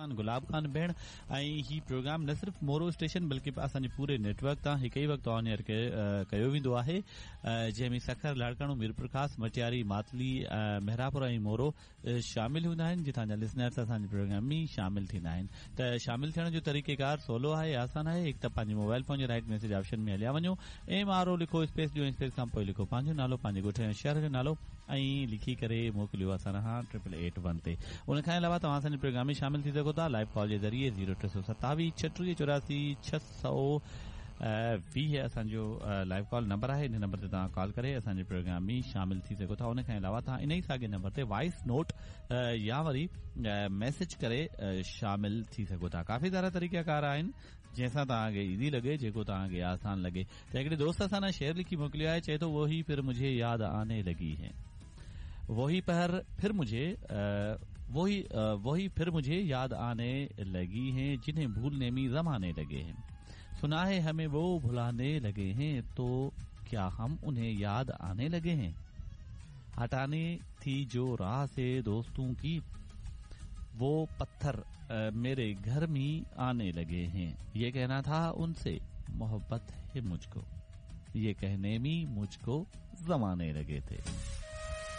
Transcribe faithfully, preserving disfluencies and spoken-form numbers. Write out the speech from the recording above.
ميزبان گلاب خان ڀيڻ ۽ هي پروگرام نه صرف مورو اسٽيشن بلڪه اسان جي پوري نيٽ ورڪ تان هڪ ئي وقت آن ايئر ڪيو ويندو آهي، جنهن ۾ سکر، لاڙڪاڻو، ميرپورخاص، مٽياري، ماتلي، مهراپور ۽ مورو شامل هوندا آهن، جتان جا لسنرس اسان جي پروگرام ۾ شامل ٿيندا آهن. ته شامل ٿيڻ جو طريقيڪار سولو آهي، آسان آهي. هڪ ته پنهنجي موبائل فون جي رائيٽ ميسيج آپشن ۾ هليا وڃو، ايم آر او لکو، اسپيس ڏيو، اسپيس کان پوءِ لکو پنهنجو نالو، پنهنجي ڳوٺ يا شهر جو نالو ۽ لکي ڪري موڪليو اسان ڏانهن ٽرپل ايٽ ون تي. ان کان علاوه توهان اسان جي پروگرام ۾ شامل ٿي سگهو ٿا لائيو ڪال جي ذريعي زيرو ٽي سؤ ستاويهه ڇٽيهه چوراسي ڇهه سؤ ويهه اسان جو لائيو ڪال نمبر آهي. ان نمبر تي توهان ڪال ڪري اسان جي پروگرام ۾ شامل ٿي سگهو ٿا. ان کان علاوه توهان ان ئي ساڳي نمبر تي وائس نوٽ يا وري ميسيج ڪري شامل ٿي سگهو ٿا. ڪافي سارا طريقا ڪار آهن جنهن سان توهان کي ايزي لڳي، جيڪو توهان کي آسان لڳي. ته هڪڙي دوست اسان ڏانهن شعر لکي موڪليو آهي، چئي ٿو وهي ڦر مجهي ياد آني لڳي هي، وهي پهر ڦر مجهي وهي وهي ڦر مجهي ياد آني لڳي هي، جنهين ڀولني ۾ زماني لڳي هي، سنا هي همين وو ڀلاني لڳي هي، تو ڪيا هم انهين ياد آني لڳي هين، هٽاني ٿي جو راهه سي دوستون ڪي، وو پٿر ميري گهر ۾ آني لڳي هين، يه ڪهنا ٿا ان سي محبت هي مجهڪو، يه ڪهني ۾ مجهڪو زماني لڳي ٿي.